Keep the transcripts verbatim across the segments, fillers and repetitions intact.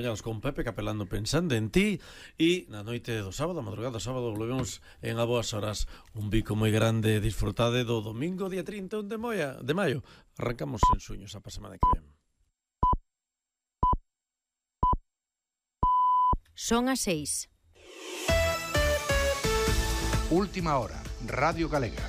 Llegamos con Pepe Capelando pensando en ti e na noite do sábado, a madrugada do sábado, volvemos en a boas horas un bico moi grande. Disfrutade do domingo día trinta e un de, moia, de maio. Arrancamos en sueños a semana que ven. Son as seis. Última hora, Radio Galega.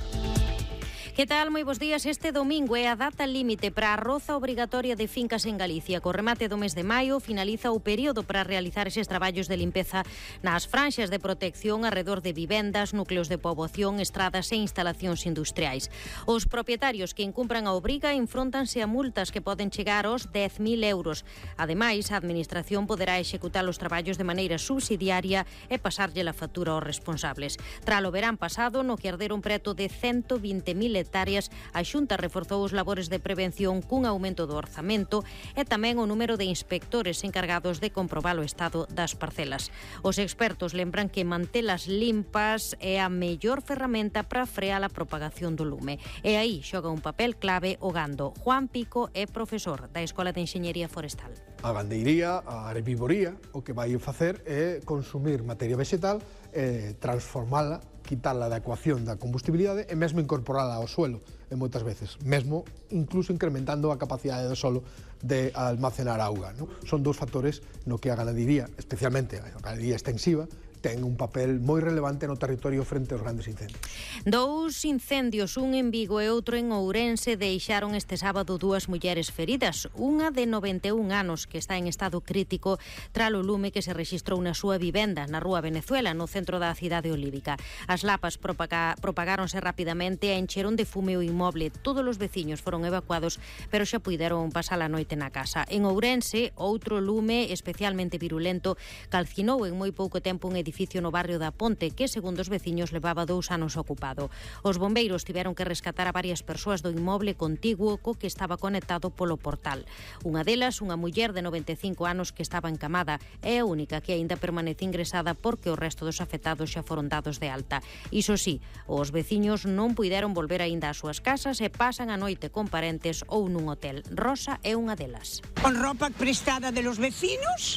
Que tal? Moi bons días. Este domingo é a data límite para a roza obrigatoria de fincas en Galicia. Co remate do mes de maio finaliza o período para realizar eses traballos de limpeza nas franxas de protección arredor de vivendas, núcleos de poboación, estradas e instalacións industriais. Os propietarios que incumpran a obriga enfrontanse a multas que poden chegar aos dez mil euros. Ademais, a Administración poderá executar os traballos de maneira subsidiaria e pasarlle a factura aos responsables. Tralo verán pasado, no que arderon preto de cento vinte mil hectáreas, a Xunta reforzou os labores de prevención cun aumento do orzamento e tamén o número de inspectores encargados de comprobar o estado das parcelas. Os expertos lembran que mantelas limpas é a mellor ferramenta para frear a propagación do lume. E aí xoga un papel clave o gando. Juan Pico é profesor da Escola de Enxeñería Forestal. A gandeiría, a herbivoría, o que vai facer é consumir materia vegetal, eh, transformala, quitala da ecuación da combustibilidade e mesmo incorporala ao suelo, e moitas veces, mesmo incluso incrementando a capacidade do solo de almacenar auga, non? Son dous factores no que a ganadería, especialmente a ganadería extensiva, ten un papel moi relevante no territorio frente aos grandes incendios. Dous incendios, un en Vigo e outro en Ourense, deixaron este sábado dúas mulleres feridas. Unha de noventa e un anos que está en estado crítico tralo lume que se rexistrou na súa vivenda na Rúa Venezuela, no centro da cidade olívica. As lapas propaga, propagáronse rapidamente e encheron de fume o inmoble. Todos os veciños foron evacuados, pero xa puideron pasar a noite na casa. En Ourense, outro lume especialmente virulento calcinou en moi pouco tempo un edificio edificio no barrio da Ponte, que, segundo os veciños, levaba dous anos ocupado. Os bombeiros tiveron que rescatar a varias persoas do inmoble contiguo co que estaba conectado polo portal. Unha delas, unha muller de noventa e cinco anos que estaba encamada, é a única que aínda permanece ingresada porque o resto dos afectados xa foron dados de alta. Iso sí, os veciños non puideron volver aínda ás súas casas e pasan a noite con parentes ou nun hotel. Rosa é unha delas. Con ropa prestada de los vecinos,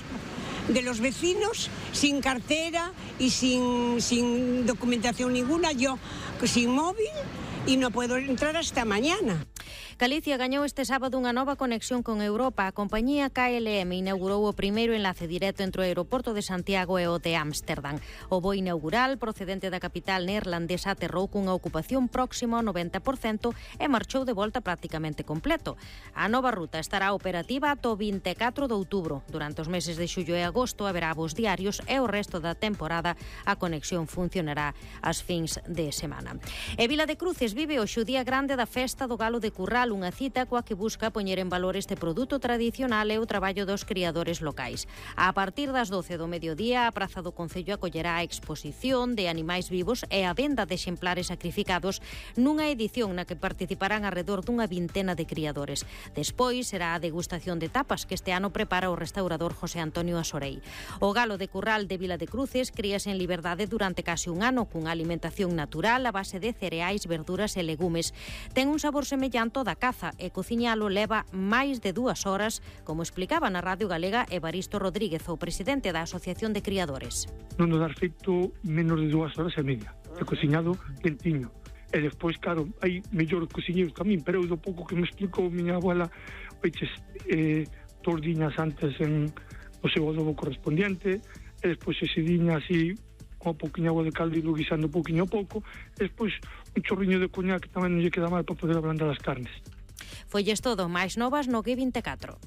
de los vecinos, sin cartera y sin, sin documentación ninguna, yo sin móvil y no puedo entrar hasta mañana. Galicia gañou este sábado unha nova conexión con Europa. A compañía K L M inaugurou o primeiro enlace directo entre o aeroporto de Santiago e o de Ámsterdam. O voo inaugural, procedente da capital neerlandesa, aterrou cunha ocupación próxima ao noventa por cento e marchou de volta prácticamente completo. A nova ruta estará operativa ata o vinte e catro de outubro. Durante os meses de xullo e agosto haberá voos diarios e o resto da temporada a conexión funcionará ás fins de semana. E Vila de Cruces vive hoxe o día grande da festa do galo de Curral, unha cita coa que busca poñer en valor este produto tradicional e o traballo dos criadores locais. A partir das doce do mediodía, a Praza do Concello acollerá a exposición de animais vivos e a venda de exemplares sacrificados nunha edición na que participarán alrededor dunha vintena de criadores. Despois será a degustación de tapas que este ano prepara o restaurador José Antonio Asorei. O galo de Curral de Vila de Cruces críase en liberdade durante case un ano cunha alimentación natural a base de cereais, verduras e legumes. Ten un sabor semellante ao da caza e cociñalo leva máis de dúas horas, como explicaba na Radio Galega Evaristo Rodríguez, o presidente da Asociación de Criadores. Non nos dar feito menos de dúas horas e media, e cociñado quentiño. E despois, claro, hai mellor cociñeiros tamén, pero eu do pouco que me explicou miña abuela, oiches, eh, tordiñas antes en o seu adobo correspondiente, e despois ese diña así, con un poquinho agua de caldo e lo guisando poquinho a pouco, e despois un chorriño de coñac que tamén non lle queda mal para poder ablandar as carnes. Folles todo, máis novas no G vinte e catro.